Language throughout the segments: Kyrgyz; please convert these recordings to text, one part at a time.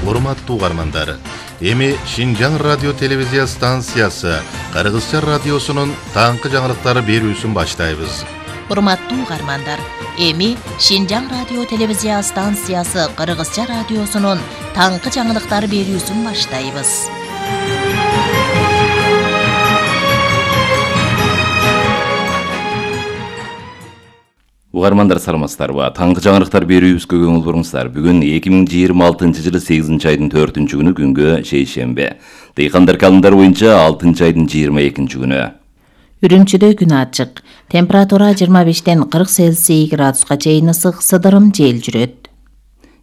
Урматтуу угармандар, эми Шинжаң радио телевизия станциясы Кыргызча радиосунун таңкы жаңылыктары берүүсүн баштайбыз. Урматтуу угармандар, эми Шинжаң радио телевизия станциясы Кыргызча радиосунун таңкы жаңылыктары берүүсүн баштайбыз. Угармандар саламатсыздарбы? Таңкы жаңылыктар берүүбүзгө көңүл буруңуздар. Бүгүн 2026-жылы 8 айдын 4-күнү күнгө шейшембе. Дыйкандар календар боюнча 6 айдын 22-күнү. Үрүмчүдө күн ачык. Температура 25-тен 40 Цельсий градуска чейин ысык, сыдырым жел жүрөт.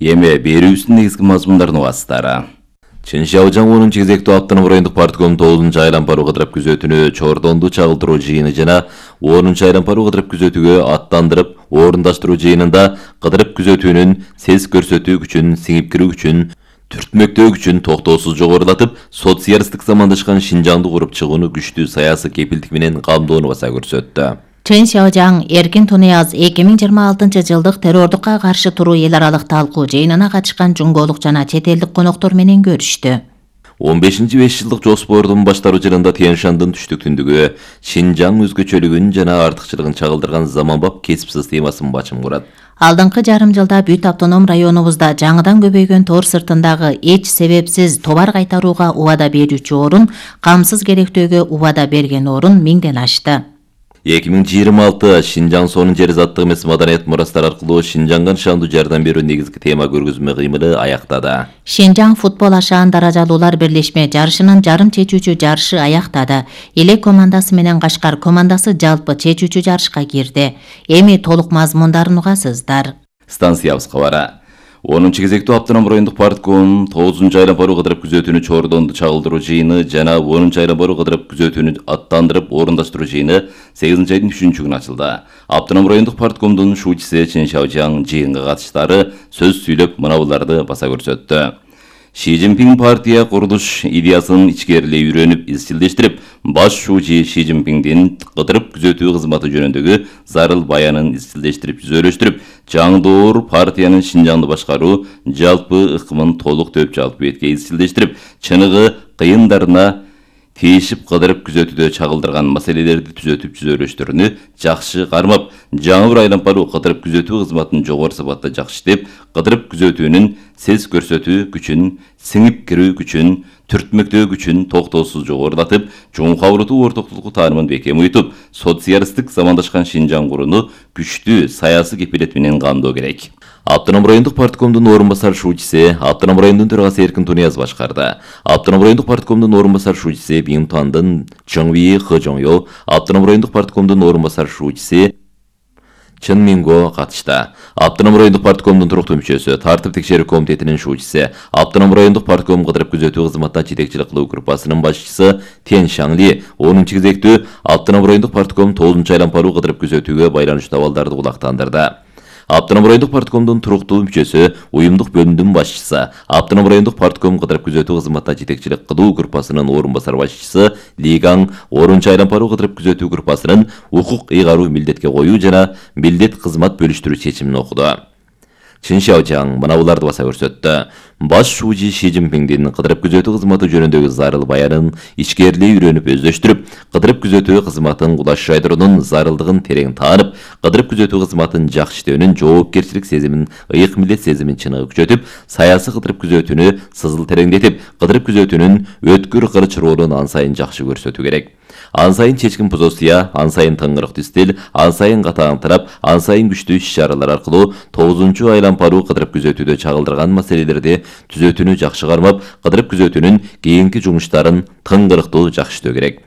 Эми берүүбүздүн негизги мазмундарын угасыздар. Чыншаужаң 10 кезектүү Автономдук райондук партком 9 айланпаруу кыдырып күзөтүүнү чордонду чагылдыруу жыйыны жана 10 айланпаруу кыдырып күзөтүүгө аттандырып орундаштыруу жыйынында кыдырып күзөтүүнүн сез көрсөтүү күчүн, сиңип кирүү күчүн, түртмөктөө күчүн токтоосуз жогорулатып, социалисттик замандашкан Шинжаңды куруп чыгууну күчтүү саясий кепилдик менен камдоону баса көрсөттү. Чыншаужаң Эркин Тунияз 2026 жылдык террордукка каршы туруу эл аралык талкуу жыйынына катышкан жумголук жана чет элдик коноктор менен көрүштү. 15-5 жылдык жоспордун баштаруу жылында Тянь-Шандын түштүктүндүгү Шинжаң өзгөчөлүгүн жана артыкчылыгын чагылдырган заманбап кесип системасын бачым курат. Алдыңкы жарым жылда бүт автоном районубузда жаңыдан көбөйгөн тор сыртындагы эч себепсиз товар кайтарууга убада берүүчү орун, камсыз керектөөгө убада берген орун 1000ден ашты. 2026 Шинжаң сонун жер заттык эмес маданият мурастары аркылуу Шинжаңга нышандуу жардам берүү негизги тема көргөзмө кыймылы аяктады. Шинжаң футбол ашаан даражалуулар бирлешме жарышынын жарым чечүүчү жарышы аяктады. Элек командасы менен Кашкар командасы жалпы чечүүчү жарышка кирди. Эми толук мазмундарын угасыздар. Станциябызга бара. 10 кезектүү Автономдук райондук партком 9 айланпаруу кыдырып күзөтүүнү чордонду чагылдыруу жыйыны жана 10 айланпаруу кыдырып күзөтүүнү аттандырып орундаштыруу жыйыны 8 айдын 3-күнү ачылды. Автономдук райондук парткомдун шуучусу Чыншаужаң жыйынга катыштары сөз сүйлөп мынабуларды баса көрсөттү. Ши Цзиньпин партия курулуш идеясын ичкерилей үйрөнүп, изчилдештирип, баш шуучу Ши Цзиньпиндин кыдырып күзөтүү кызматы жөнүндөгү зарыл баянын изчилдештирип, жүзөлөштүрүп, жаңдоор партиянын Шинжаңды башкаруу жалпы ыкмын толук төп жалпы бетке изчилдештирип, чыныгы кыйындарына тийишип кыдырып күзөтүүдө чагылдырган маселелерди түзөтүп жүзөлөштөрүнү жакшы кармап, жаңы бир айланпаруу кыдырып күзөтүү кызматын жогору сапатта жакшы иштеп, кыдырып күзөтүүнүн сез көрсөтүү күчүн, сиңип кирүү күчүн, түртмөктөө күчүн токтоосуз жогорулатып, чоң кабылдуу ортоктулуку таанымын бекем уютуп, социалисттик замандашкан Шинжаң курууну күчтүү саясий кепилет менен камдоо керек. Автономдук райондук парткомдун орун басар шуучусу, Автономдук райондун төрагасы Эркин Тунияз башкарды. Автономдук райондук парткомдун орун басар шуучусу Бинтуандын Чоңви Хыжоңё, Автономдук райондук парткомдун орун басар шуучусу Чын Минго катышты. Автономдук райондук парткомдун туруктуу мүчөсү, тартип текшерүү комитетинин шуучусу, Автономдук райондук партком кыдырып күзөтүү кызматына жетекчилик кылуу группасынын башчысы Тянь Шаңли 10 кезектүү Автономдук райондук партком 9 айланпаруу кыдырып күзөтүүгө байланыштуу абалдарды кулактандырды. Автономдук райондук парткомдун туруктуу мүчөсү, уюмдук бөлүмдүн башчысы, Автономдук райондук партком кыдырып күзөтүү кызматына жетекчилик кылуу группасынын орун басар башчысы Лигаң 10 айланпаруу кыдырып күзөтүү группасынын укук ыйгаруу милдетке коюу жана милдет кызмат бөлүштүрүү чечимин окуду. Чыншаужаң мынабуларды баса көрсөттү. Баш шуучу Ши Цзиньпиндин кыдырып күзөтүү кызматы жөнүндөгү зарыл баянын ичкерилей үйрөнүп, өздөштүрүп, кыдырып күзөтүү кызматын кулаш жайдыруунун зарылдыгын терең таанып, кыдырып күзөтүү кызматын жакшы иштөөнүн жоопкерчилик сезимин, ыйык милдет сезимин чыныгы күчөтүп, саясий кыдырып күзөтүүнү сызыл тереңдетип, кыдырып күзөтүүнүн өткүр кырыч ролун ан сайын жакшы көрсөтүү керек. Ан сайын чечкин позиция, ан сайын тыңгырыктуу стиль, ан сайын катааңтырап, ан сайын күчтүү иш-чаралар аркылуу 9 айланпаруу кыдырып күзөтүүдө чагылдырган маселелерди түзөтүүнү жакшы кармап, кыдырып күзөтүүнүн кийинки жумуштарын тыңгырыктуу жакшы иштөө керек.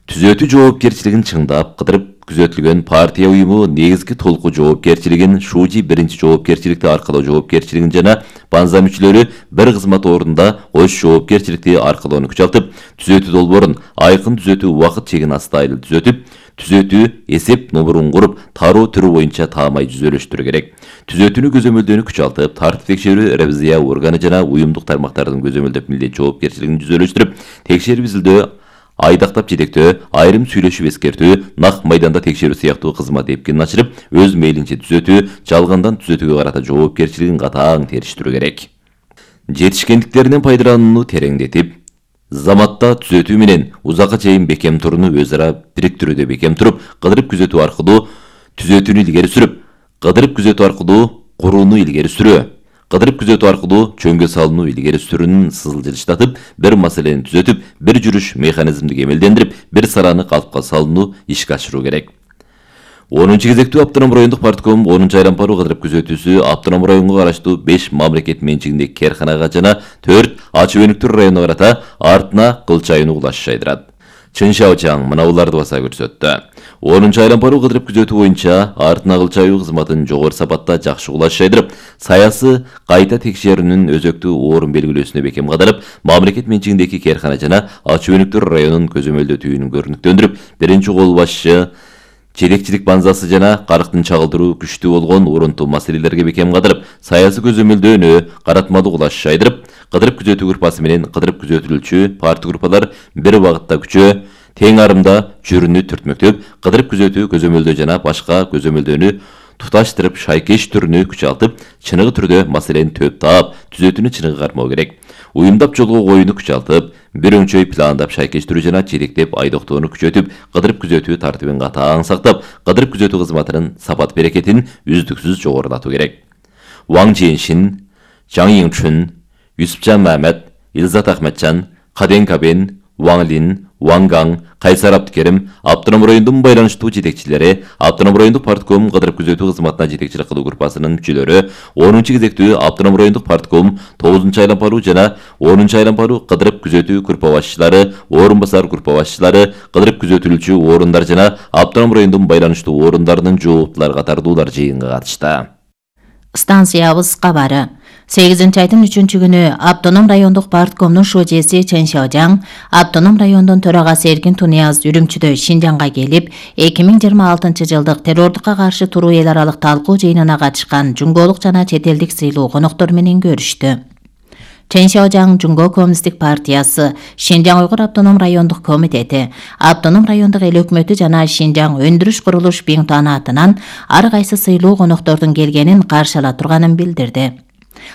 Түзөтүү жоопкерчилигин чыңдап, кыдырып күзөтүлгөн партия уюму негизги толку жоопкерчилигин, шуучу биринчи жоопкерчиликти аркалоо жоопкерчилигин жана банза мүчөлөрү бир кызмат ордунда кош жоопкерчиликти аркалоону күчалтып, түзөтүү долбоорун айкын түзөтүү убакыт чегин астайыл түзөтүп, түзөтүү эсеп номерун куруп, тароо түрү боюнча таамай жүзөлөштүрүү керек. Түзөтүүнү көзөмөлдөөнү күчалтып, тартип текшерүү ревизия органы жана уюмдук тармактардын көзөмөлдөп милдет жоопкерчилигин жүзөлөштүрүп, текшерип изилдөө, айдактап жетектөө, айрым сүйлөшүп эскертүү, нак майданда текшерүү сыяктуу кызмат эпкинин ачырып, өз мейлинче түзөтүү, жалгандан түзөтүүгө карата жоопкерчилигин катаң териштирүү керек. жетишкендиктеринен пайдаланууну тереңдетип, заматта түзөтүү менен узакка чейин бекем турууну өз ара бириктирүүдө бекем туруп, кыдырып күзөтүү аркылуу түзөтүүнү илгери сүрүп, кыдырып күзөтүү аркылуу курууну илгери сүрүү, кыдырып күзөтүү аркылуу чөңгө салууну илгери сүрүүнүн сызылжытып, бир маселени түзөтүп, бир жүрүш механизмди кемелдендирип, бир сараны калпка салууну ишке ашыруу керек. 10-чу кезектүү автоном райондук партком 10-чу айран пару кыдырып күзөтүүсү автоном районго караштуу 5 мамлекет менчигиндеги керканага жана 4 ачык өнүктүр районуна карата артына кыл чайын угулаш жайдырат. Чын Шаочаң мына буларды баса көрсөттү. 10-чу айран пару кыдырып күзөтүү боюнча артына кыл чайуу кызматын жогору сапатта жакшы угулаш жайдырып, саясы кайта текшерүүнүн өзөктүү орун белгилөөсүнө бекем кадалып, мамлекет менчигиндеги керкана жана ачык өнүктүр районун көзөмөлдөтүүнү көрүнүктөндүрүп, биринчи кол башчы жетекчилик банзасы жана карыктын чагылдыруу күчтүү болгон урунтуу маселелерге бекем кадалып, саясий көзөмөлдөөнү каратмалуу кылаш жайдырып, кыдырып күзөтүү группасы менен кыдырып күзөтүлүүчү парт группалар бир багытта күчөө, тең арымда жүрүүнү түртмөктөп, кыдырып күзөтүү көзөмөлдөө жана башка көзөмөлдөөнү туташтырып, шайкеш түрүнү күчалтып, чыныгы түрдө маселени төп таап, түзөтүүнү чыныгы кармоо керек. Уюмдап жолго коюуну күчалтып, бир өңчөй пландап шайкештирүү жана жетектеп айдоктоону күчөтүп, кыдырып күзөтүү тартибин катаң сактап, кыдырып күзөтүү кызматынын сапат берекетин үздүксүз жогорулатуу керек. Ваң Жиэншин, Жаң Йиңчун, Юсупжан Мамед, Илзат Ахметжан, Каден Кабен, Ваң Лин, Ваң Гаң, Кайсар Абдыкерим, автоном райондун байланыштуу жетекчилери, автоном райондук партком кыдырып күзөтүү кызматына жетекчилик кылуу группасынын мүчөлөрү, 10-чу кезектүү автоном райондук партком 9-чу айран пару жана 10-чу айран пару кыдырып күзөтүү группа башчылары, орун басар группа башчылары, кыдырып күзөтүлүүчү орундар жана автоном райондун байланыштуу орундарынын жооптулары катардуулар жыйынга катышты. Станциябыз кабары. 8-айдын 3-чү күнү автоном райондук парткомдун шожеси Чын Шаочаң, автоном райондун төрагасы Эркин Тунияз Үрүмчүдө Шинжаңга келип, 2026 жылдык террордукка каршы туруу эл аралык талкуу жыйынына катышкан жумголук жана чет элдик сыйлуу коноктор менен көрүштү. Чын Шаочаң Жумго Коммунисттик партиясы, Шинжаң Уйгур автоном райондук комитети, автоном райондук эл өкмөтү жана Шинжаң өндүрүш курулуш Биңтуаны атынан ар кайсы сыйлуу коноктордун келгенин каршы ала турганын билдирди.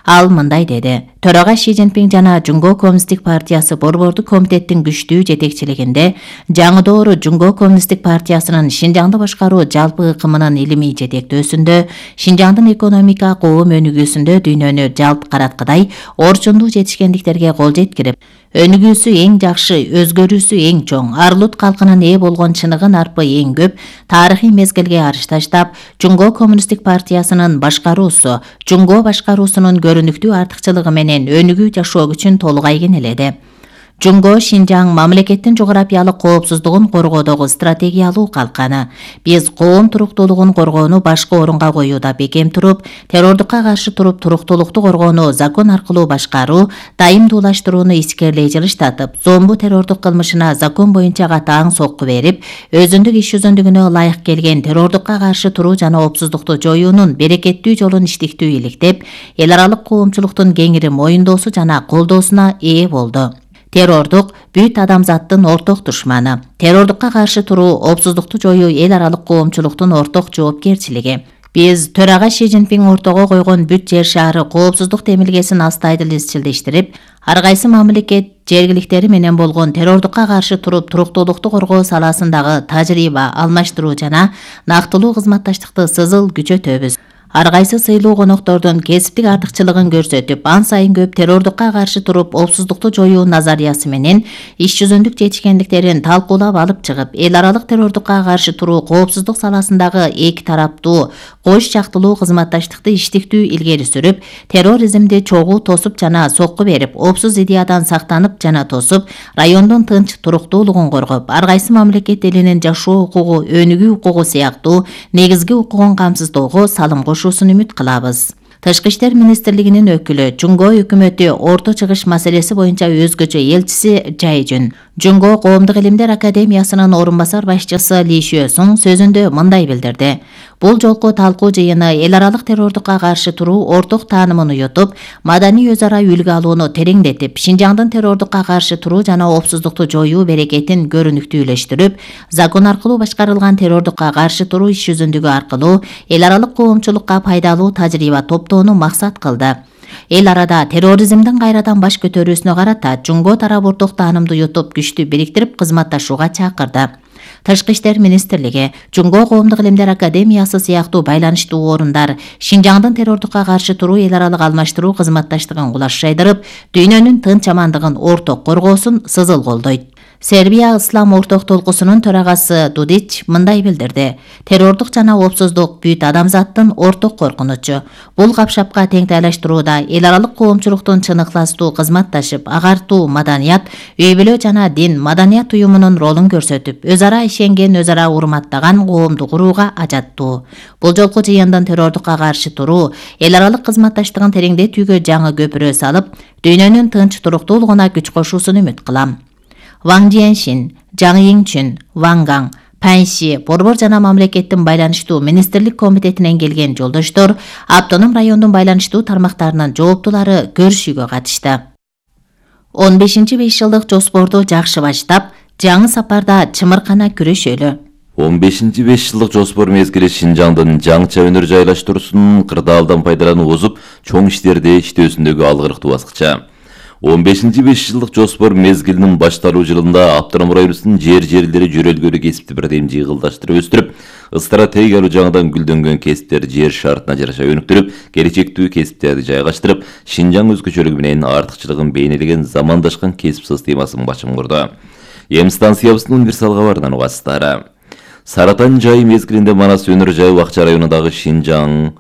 Ал мындай деди: Төрага Ши Цзиньпин жана Жумго Коммунисттик партиясы борбордук комитеттин күчтүү жетекчилигинде жаңыдоору Жумго Коммунисттик партиясынын Шинжаңды башкаруу жалпы ыкымынын илимий жетектөөсүндө, Шинжаңдын экономика коом өнүгүүсүндө дүйнөнү жалп караткыдай орчундуу жетишкендиктерге кол жеткирип, өнүгүүсү эң жакшы, өзгөрүүсү эң чоң, арлут калкынын ээ болгон чыныгын арпы эң көп тарыхый мезгилге арыш таштап, Жумго Коммунисттик партиясынын башкаруусу, Жумго башкаруусунун көрүнүктүү артыкчылыгы менен өнүгүү жашоо күчүн толугай кенеледи. Жумго Шинжаң мамлекеттин жогорапиялык коопсуздугун коргоодогу стратегиялуу калканы. Биз коом туруктуулугун коргоону башкы орунга коюуда бекем туруп, террордукка каршы туруп туруктуулукту коргоону закон аркылуу башкаруу, дайымдуулаштырууну искерлей жылыштатып, зомбу террордук кылмышына закон боюнча катаң сокку берип, өзүндүк иш жүзүндүгүнө ылайык келген террордукка каршы туруу жана опсуздукту жоюунун берекеттүү жолун иштиктүү иликтеп, эл аралык коомчулуктун кеңири моюндоосу жана колдоосуна ээ болду. Террордук бүт адамзаттын орток душманы. Террордукка каршы туруу, опсуздукту жоюу эл аралык коомчулуктун орток жоопкерчилиги. Биз төрага Ши Цзиньпин ортого койгон бүт жер шаары коопсуздук темилгесин астайдыл изчилдештирип, ар кайсы мамлекет жергиликтери менен болгон террордукка каршы туруп туруктуулукту коргоо саласындагы тажрыйба алмаштыруу жана нактылуу кызматташтыкты сызыл күчөтөбүз. Ар кайсы сыйлуу коноктордун кесиптик артыкчылыгын көрсөтүп, ан сайын көп террордукка каршы туруп опсуздукту жоюу назариясы менен иш жүзүндүк жетишкендиктерин талкуулап алып чыгып, эл аралык террордукка каршы туруу коопсуздук саласындагы эки тараптуу кош жактылуу кызматташтыкты иштиктүү илгери сүрүп, терроризмди чогуу тосуп жана сокку берип, опсуз идеядан сактанып жана тосуп, райондун тынч туруктуулугун коргоп, ар кайсы мамлекет элинин жашоо укугу, өнүгүү укугу сыяктуу негизги укугун камсыздоого салым кошуусун үмүт кылабыз. Тышкы иштер министрлигинин өкүлү, Жумго өкмөтү Орто Чыгыш маселеси боюнча өзгөчө элчиси Жайжүн, Жумго Коомдук илимдер академиясынын орун басар башчысы Ли Шуэсуң сөзүндө мындай билдирди: Бул жолку талкуу жыйыны эл аралык террордукка каршы туруу орток таанымын уютуп, маданий өз ара үлгү алууну тереңдетип, Шинжаңдын террордукка каршы туруу жана опсуздукту жоюу берекетин көрүнүктүүлөштүрүп, закон аркылуу башкарылган террордукка каршы туруу иш жүзүндүгү аркылуу эл аралык коомчулукка пайдалуу тажрыйба топтоону максат кылды. Эл арада терроризмдин кайрадан баш көтөрүүсүнө карата жумго тарап орток таанымды йотуп күчтү бириктирип кызматташууга чакырды. Тышкы иштер министрлиги, Жумго коомдук илимдер академиясы сыяктуу байланыштуу орундар Шинжаңдын террордукка каршы туруу эл аралык алмаштыруу кызматташтыгын кулаш жайдырып, дүйнөнүн тынч амандыгын орток коргоосун сызыл колдойт. Сербия Ислам орток толкусунун төрагасы Дудич мындай билдирди: террордук жана оопсуздук бүт адамзаттын орток коркунучу. Бул капшапка теңтайлаштырууда эл аралык коомчулуктун чыныктуу кызматташып, агартуу маданият, үй бүлө жана дин маданият уюмунун ролун көрсөтүп, өз ара ишенген, өз ара урматтаган коомду курууга ажаттуу. Бул жолку жыйындын террордукка каршы туруу эл аралык кызматташтыгын тереңдетүүгө жаңы көпүрө салып, дүйнөнүн тынч туруктуулугуна күч кошуусун үмүт кылам. Ван Жиэншин, Жаң Йиңчүн, Ван Гаң, Паньши, Борбор жана мамлекеттин байланыштуу министрлик комитетинен келген жолдоштор автоном райондун байланыштуу тармактарынын жооптулары көрүшүүгө катышты. 15-5 жылдык жоспорду жакшы баштап, жаңы сапарда чымыркана күрөшөлү. 15-5 жылдык жоспор мезгили Шинжаңдын жаңча өнөр жайлаштыруусунун кырдаалдан пайдалануу озуп, чоң иштерди иштөөсүндөгү алгырыктуу баскыча. 15-5 жылдык жоспор мезгилинин башталуу жылында автоном районубуздун жерлери жөрөлгөлү кесипти бирдем жыйгылдаштырып өстүрүп, стратегиялуу жаңыдан гүлдөнгөн кесиптер жер шартына жараша өнүктүрүп, келечектүү кесиптерди жайгаштырып, Шинжаң өзгөчөлүгү менен артыкчылыгын бейнелеген замандашкан кесип системасын башым курду. Эми станциябыздын универсал кабарынан угасыздар. Саратан жайы мезгилинде Манас өнөр жайы Акча районундагы Шинжаң,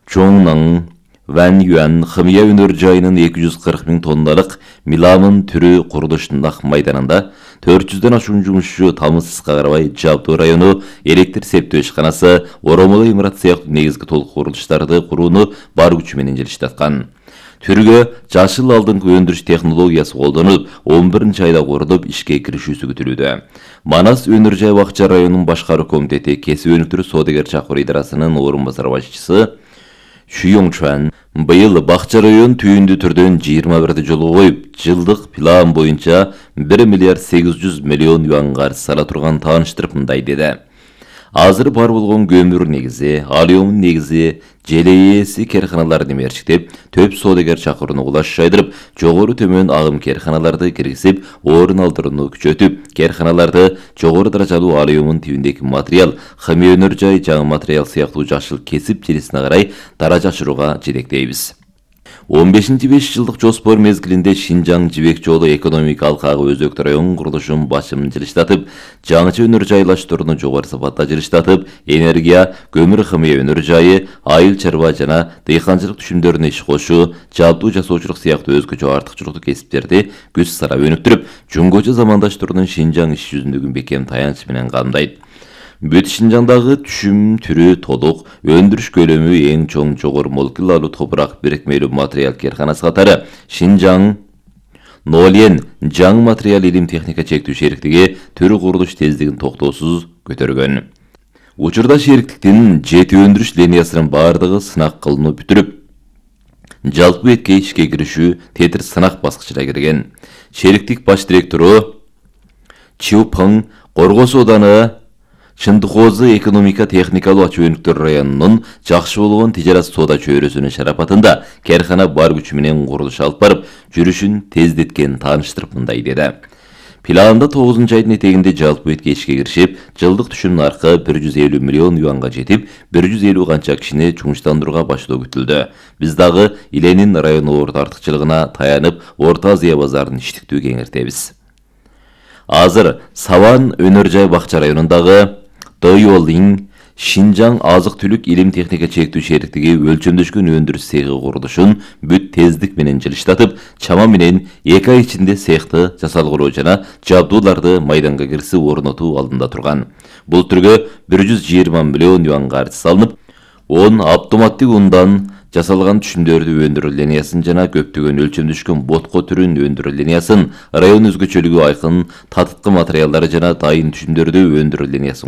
Чоңнаң, Ван Юан хымия өнөр жайынын 240 000 тонналык миламын түрү курулушунун майданында 400дөн ашуун жумушчу тамызсызга карабай Жабдуу району электр септөө ишканасы, оромоло имарат сыяктуу негизги толук курулуштарды курууну бар күчү менен жылыштаткан. Түргө жашыл алдыңкы өндүрүш технологиясы колдонулуп, 11 айда курулуп ишке киришүүсү күтүлүүдө. Манас өнөр жай Акча районунун башкаруу комитети кесип өнүктүрүү соодагер чакыруу идарасынын орун басар башчысы Шүйоңчуан быйыл Бакча район түйүндүү түрдөн 21 жолго коюп, жылдык план боюнча 1 миллиард 800 миллион юан карыз сала турган тааныштырып мындай деди. Азыр бар болгон көмүр негизи, алюмин негизи, желейеси керканаларды мерчиктеп, төп соодагер чакырууну кулаш жайдырып, жогору төмөн агым керканаларды киргизип, орун алдырууну күчөтүп, керканаларды жогору даражалуу алюмин тибиндеги материал, хымия өнөр жай жаңы материал сыяктуу жашыл кесип желесине карай даража ашырууга жетектейбиз. 15-5 жылдык жоспор мезгилинде Шинжаң жибек жолу экономика алкагы өзөктүү район курулушун башым жылыштатып, жаңыча өнөр жайлаштырууну жогору сапатта жылыштатып, энергия, көмүр хымия өнөр жайы, айыл чарба жана дыйканчылык түшүмдөрүнө иш кошуу, жабдуу жасоочулук сыяктуу өзгөчө артыкчылыктуу кесиптерди күч сарап өнүктүрүп, жөнгөчө замандаштырууну Шинжаң иш жүзүндөгү бекем таянч менен камдайт. Бүт Шинжаңдагы түшүм түрү толук, өндүрүш көлөмү эң чоң жогору молекулалуу топурак бирикмелүү материал керканасы катары Шинжаң Нолен жаңы материал илим техника чектүү шериктиги түрү курулуш тездигин токтоосуз көтөргөн. Учурда шериктиктин 7 өндүрүш линиясынын бардыгы сынак кылынып бүтүрүп, жалпы этке ишке киришүү тетир сынак баскычына кирген. Шериктик баш директору Чиупың Коргос ооданы Чындыкоозу экономика техникалуу ачуу өнүктөр районунун жакшы болгон тижарат соода чөйрөсүнүн шарапатында керкана бар күчү менен курулуш алып барып, жүрүшүн тездеткен тааныштырып мындай деди. Планда 9-айдын этегинде жалпы этке ишке киришип, жылдык түшүм наркы 150 миллион юанга жетип, 150 канча кишини жумуштандырууга баштоо күтүлдү. Биз дагы Иленин району орто артыкчылыгына таянып, Орто Азия базарын иштиктүү кеңиртебиз. Азыр Саван өнөр жай Бакча районундагы Дойолин Шинжаң азык-түлүк илим техника чектүү шериктиги өлчөмдөшкөн өндүрүш цехи курулушун бүт тездик менен жылыштатып, чама менен 2 ай ичинде цехти жасалгыроо жана жабдууларды майданга киргизип орнотуу алдында турган. Бул түргө 120 миллион юан каржы салынып, 10 автоматтык ундан жасалган түшүмдөрдү өндүрүү линиясын жана көптөгөн өлчөмдөшкөн ботко түрүн өндүрүү линиясын, район өзгөчөлүгү айкын татыткы материалдары жана дайын түшүмдөрдү өндүрүү линиясын